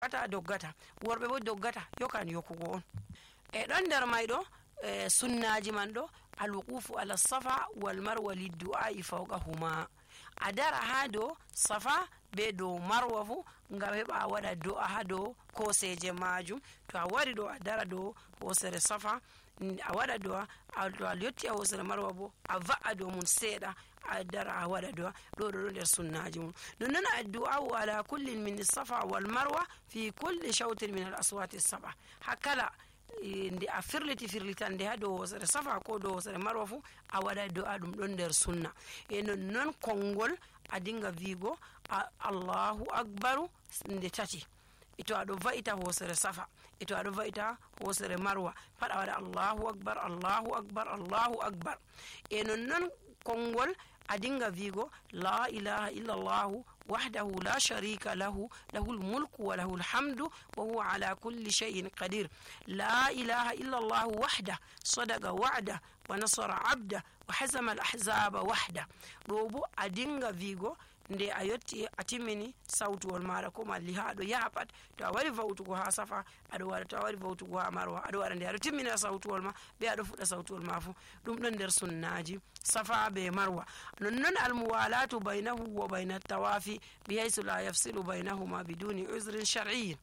ata doggata, worɓe bo doggata yokan yokugo on. E ɗon nder mayɗo sunnaji man ɗo alwuqufu ala safa wal marwa liddu'ai fawqahuma, a dara ha dow safa be dow marwa fu ngam heɓa a waɗa do'a ha dow koseje majum. to a wari ɗo a dara dow hosere safa a waɗa do'a, to a yotti a hosere marwa bo a va'a dow mum seeɗa a dara a waɗa do'a. ɗo nder sunnaji mum. nonnon addu'a'u ala kullin min safa wal marwa fi kulli shawtin min al aswati saba, hakkala nde a firlitande ha dow hosere safa ko dow hosere marwa fu a waɗa do'a, ɗum ɗon nder sunna. e nonnon konngol a dinga vigo allahu akbaru nde tati, to aɗo va'ita hosere safa to aɗo va'ita hosere marwa pat a waɗa allahu akbar allahu akbar allahu akbar. e nonnon konngol a dinga vigo la ilaha illallahu wahdahu la sharika lahu lahul mulku wa lahul hamdu wa huwa ala kulli shay'in qadir. la ilaha illallahu wahda sadaqa wa'da wa nasara abda wa hazama al ahzaba wahda. ɗo bo a dinga vigo nde a yotti a timmini sawtuwol maɗa ko malli ha aɗo yaha pat. to a wari vawtugo ha safa aɗo waɗa, to a wari vawtugo ha marwa aɗo waɗa, nde aɗo timmina sawtuwol ma be aɗo fuɗɗa sawtuwol ma fu ɗum ɗon nder sunnaji safa be marwa. nonnon almuwalatu baynahu wa bayna tawafi bihaysu la yafsilu baynahuma biduni uzrin shar'iyyin.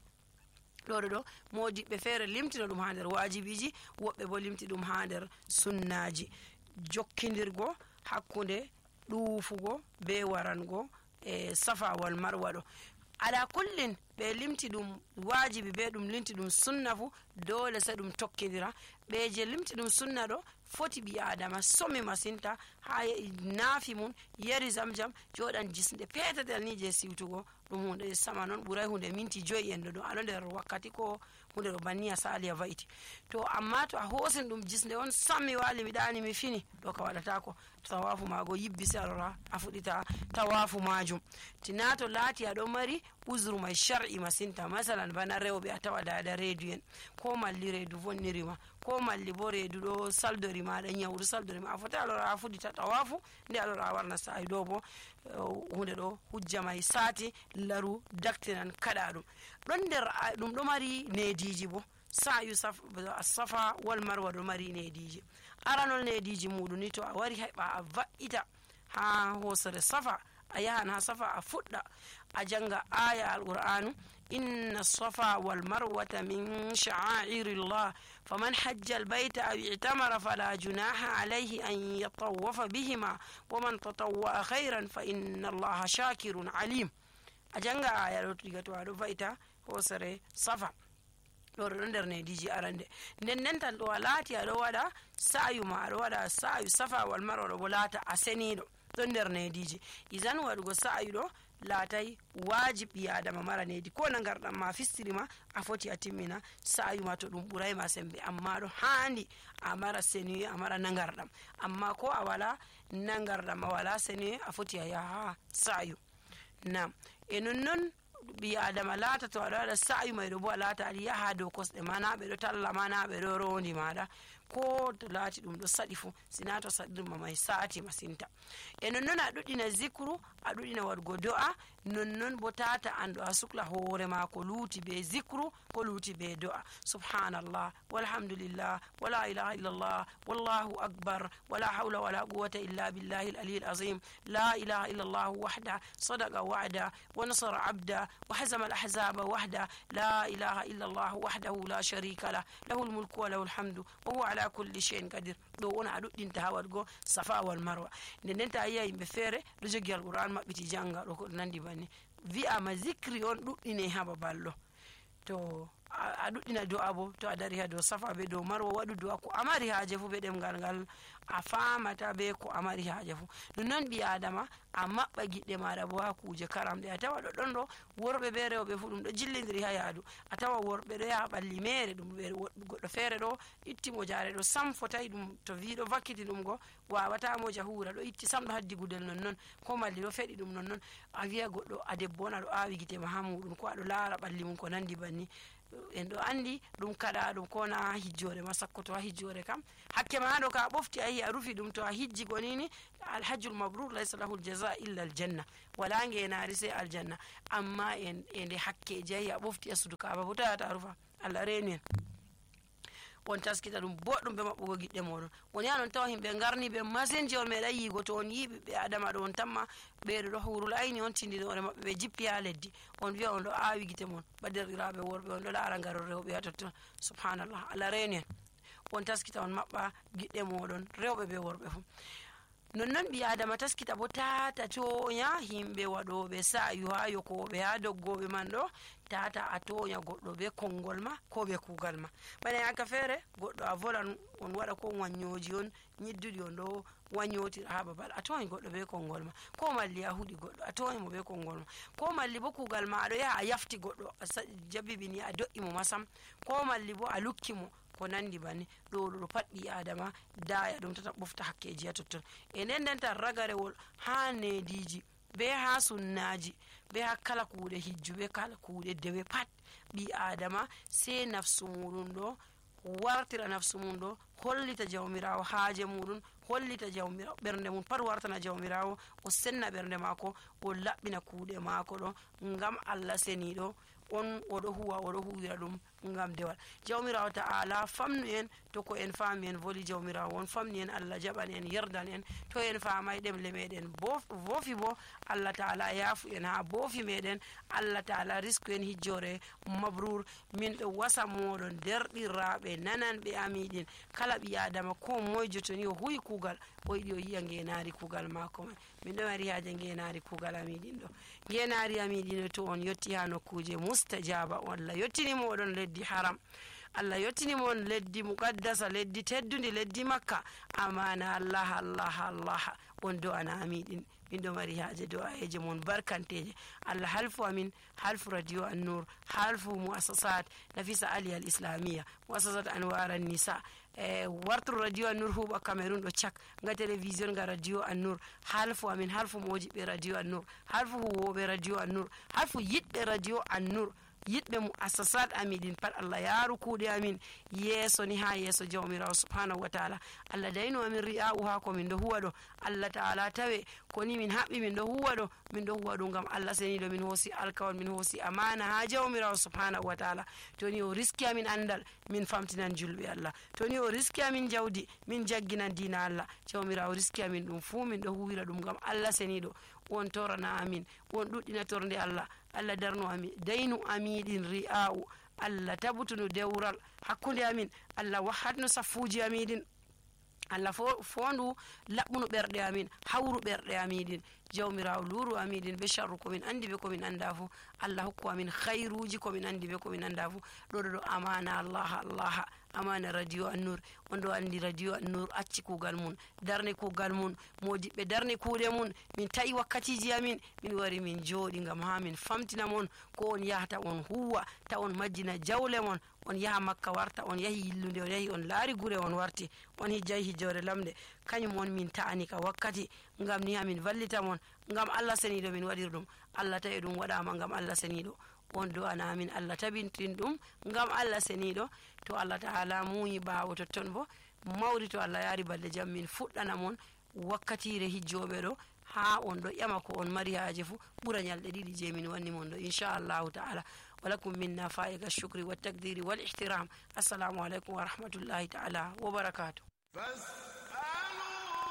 ɗo modiɓɓe feere limtina ɗum ha nder wajibiji, woɓɓe bo limti ɗum ha nder sunnaji. jokkidirgo hakkunde ɗuufugo be warango e safa wal marwa ɗo ala kullin ɓe limti ɗum wajibi be ɗum limti ɗum sunna fu dole sai ɗum tokkidira. ɓe je limti ɗum sunna ɗo foti ɓi adama somi masinta ha naafi mum yari zamjam joɗan jisnde petetel ni je siwtugo ɗum hunde sama noon ɓuray hunde minti 5 en ɗo aɗo nder wakkati ko hunde ɗo banni a sali a va'iti. to amma to a hosin ɗum jisnde on sammi wali mi ɗani mi fini ɗo ka waɗatako, tawafu mago yibbi se alora a fuɗita tawafu majum. tina to laati aɗo mari uzru mai shar'i masinta, masalan bana rewɓe a tawa dada reedu en ko malli reedu vonnirima ko malli bo reedu ɗo saldori maɗa nyawdu saldori ma a foti alora a fuɗita tawafu nde alora a warna sa'i. ɗo bo hunde ɗo hujja mai sati laru daktinan kaɗa ɗum. ɗon nder ɗum ɗo mari nediji bo sa'yu safa wal marwa ɗo mari nediji. aranol nediji muɗum ni to a wari heɓa a va'ita ha hosere safa a yahan ha safa a fuɗɗa a janga aya alqur'anu inna safa wal marwata min sha'airillah faman hajja albayta aw i'tamara fala junaha alayhi an yatawafa bihima waman tatawwa'a khairan fa inna allaha shakirun alim. a janga aya ɗo diga to aɗo va'ita hosere safa ɗo ɗo nder nediji arande. nden tan ɗo a laati aɗo waɗa sa'yu ma aɗo waɗa sa'yu safa wal marwa ɗo bo laata a seniɗo ɗon nder nediji. isan waɗugo sa'yu ɗo laatay wajib ɓi adama mara nedi ko na garɗam ma fistirima a foti a timmina sa'yu ma to ɗum ɓuray ma sembe, amma ɗo handi a mara senuye a mara nangarɗam. amma ko a wala nangarɗam a wala senuye a foti a yaha sa'yu. nam e nonnon ɓi adama laata to aɗa waɗa sa'yu mayɗo bo a laata aɗa yaha dow kosɗe ma, na ɓe ɗo talla ma, na ɓe ɗo rondi maɗa, ko to laati ɗum ɗo saɗi fu sina to saɗirma mai sati masinta. e nonnon a ɗuɗɗina zicru, a ɗuɗɗina waɗugo do'a, nonnon bo tata an ɗo a sukla hoore ma ko luuti be zicru ko luuti be do'a. subhanallah walhamdulillah wala ilaha illallah wallahu akbar wala hawla wala quwwata illa billahi al-aliyyil azim la ilaha illallah wahda sadaqa wa'da wa nasara abda wa hazama al-ahzaba wahda la ilaha illallah wahdahu la sharika lah lahul mulku wa lahul hamdu wa huwa ala kulli shay'in qadir. ɗo wona a ɗuɗɗinta ha waɗugo safa wal marwa. nden ta yiya yimɓe feere ɗo jogi alquran maɓɓiti janga ɗo ko nandi banni wi'ama zicri on ɗuɗɗine ha babal ɗo. to a ɗuɗɗina do'a bo to a dari ha dow safa be dow marwa waɗu do'a ko amari haaje fu be ɗemgal ngal a famata be ko amari haaje fu. nonnon ɓi adama a maɓɓa giɗɗe maɗa bo ha kuje karamɗe. a tawa ɗo ɗon ɗo worɓe be rewɓe fu ɗum ɗo jillidiri ha yaadu. a tawa worɓe ɗo yaha ɓalli mere ɗum goɗɗo feere ɗo itti mo jare ɗo sam fotayi ɗum to wi ɗo vakkiti ɗum go wawata mo jahura ɗo itti sam ɗo haddi gudel nonnon ko malli ɗo feɗi ɗum nonnon. a wiya goɗɗo a debbo on aɗo awi gite ma ha muɗum ko aɗo laara ɓalli mum ko nandi banni en ɗo andi ɗum kaɗa ɗum ko na hijjore ma sakkoto ha hijjore kam hakke ma haɗo ka ɓofti a yi a rufi ɗum to a hijji gonini alhajjul mabrur laysa lahu aljaza illa aljanna wala ngenari sai aljanna amma e nde hakkeji a yi a ɓofti a sudu kaaba bo tawata a rufa Allah reni en on taskita ɗum boɗɗum ɓe maɓɓugo giɗɗe moɗon on yaha non tawa yimɓe garni ɓe masin je on meeɗa yigo to on yi ɓiɓɓe adama ɗo on tamma ɓeɗo ɗo hurul ayni on tindinore maɓɓe ɓe jippi ha leddi on wiya on ɗo awi gite mon badirɗiraɓe worɓe on ɗo laara garol rewɓe ha totton subhanallah Allah reni en on taskita on maɓɓa giɗɗe moɗon rewɓe ɓe worɓe fu nonnon ɓi adama taskita bo tata toña yimɓe waɗoɓe sa'yu ha yokoɓe ha doggoɓe man ɗo tata a toña goɗɗo be konngol ma ko be kugal ma bana yaka feere goɗɗo a volan on waɗa ko wanyoji on ñidduɗi on ɗo wanyotira ha babal a toñi goɗɗo be konngol ma ko malli a huɗi goɗɗo a toñi mo be konngol ma ko malli bo kugal ma aɗo yaha a yafti goɗɗo a jabibini a do'i mo masam ko malli bo a lukki mo ko nandi banni ɗo pat ɓi adama daya ɗum tata ɓofta hakkeji ha totton e nden nden tan ragarewol ha nediji be ha sunnaji be ha kala kuuɗe hijju be kala kuuɗe dewe pat ɓi adama sei nafsu muɗum ɗo wartira nafsu mum ɗo hollita jawmirawo haaje muɗum hollita jawmirawo ɓernde mum pat wartana jawmirawo o senna ɓernde mako o laɓɓina kuuɗe mako ɗo ngam Allah seniɗo on oɗo huwira ɗum ngam dewal jawmirawo ta'ala famnu en to ko en faami en voli jawmirawo on famni en Allah jaɓan en yerdan en to en famay ɗemle meɗen bofi bo Allah ta'ala yaafu en ha bofi meɗen Allah ta'ala risku en hijjore mabrur min ɗo wasa moɗon derɗirraɓe nananɓe amiɗin kala ɓi adama ko moyjo to ni o huwi kugal o yiɗi o yiya ngenari kugal mako man min ɗo mari haaje ngenari kugal amiɗin ɗo ngenari amiɗin to on yetti ha nokkuje mustajaba Allah yettini moɗon leddi haram Allah yettini mon leddi muqaddasa leddi teddundi leddi makka amana Allah on do ana amiɗin min ɗo mari haaje do'ayeje mon barkanteje Allah halfu amin halfu radio an-nur halfu muassasat nafisa ali al islamia muassasat anwar an-nisa warturu radio an-nur huɓa cameroon ɗo cak nga télévision nga radio an-nur halfu amin halfu mojiɓe radio an-nur halfu huwoɓe radio an-nur halfu yiɗɓe radio an-nur yiɗɓe mu assasat amiɗin pat Allah yaaru kuuɗe amin yeeso ni ha yeeso jawmirawo subhanahu wa taala Allah dayno amin ri'a'u ha ko min ɗo huwa ɗo Allah taala tawe koni min haɓɓi min ɗo huwa ɗo ngam Allah seniɗo min hoosi alkawal min hoosi amana ha jawmirawo subhanahu wa taala toni o riski amin andal min famtinan julɓe Allah toni o riski amin jawdi min jagginan dina Allah jawmirawo riski amin ɗum fuu min ɗo huwira ɗum ngam Allah seniɗo won torana amin won ɗuɗɗina torde Allah darno amin daynu amiɗin ri'a'u Allah tabutunu dewral hakkude amin Allah wahatno saffuji amiɗin Allah fondu laɓɓuno ɓerɗe amin hawru ɓerɗe amiɗin jawmirawo luru amiɗin be sharru komin andi be komin anda fu Allah hokku amin khairuji komin andi be komin anda fu ɗo amana Allah amana radio an-nur on ɗo andi radio an-nur acci kugal mun darne kugal mun modiɓɓe darne kuuɗe mun min tawi wakkatiji amin min wari min jooɗi ngam ha min famtina mon ko on yahata on huwa ta on majjina jawle mon on yaha makka warta on yahi yillude on yahi on laari gure on warti on hijjay hijjore lamde kañum on min ta'ani ka wakkati ngam ni amin vallita mon ngam Allah seniɗo min waɗir ɗum Allah tawi ɗum waɗama ngam Allah seniɗo on do ana amin Allah tabintin ɗum ngam Allah seniɗo to Allah ta'ala muyi ɓawo totton bo mawri to Allah yaari balɗe jam min fuɗɗana mon wakkatire hijjoɓe ɗo ha on ɗo ƴama ko on mari haaje fu ɓura ñalɗe ɗiɗi je min wanni mon ɗo inchallahu ta'ala ولكم منا فائق الشكر والتقدير والاحترام السلام عليكم ورحمة الله تعالى وبركاته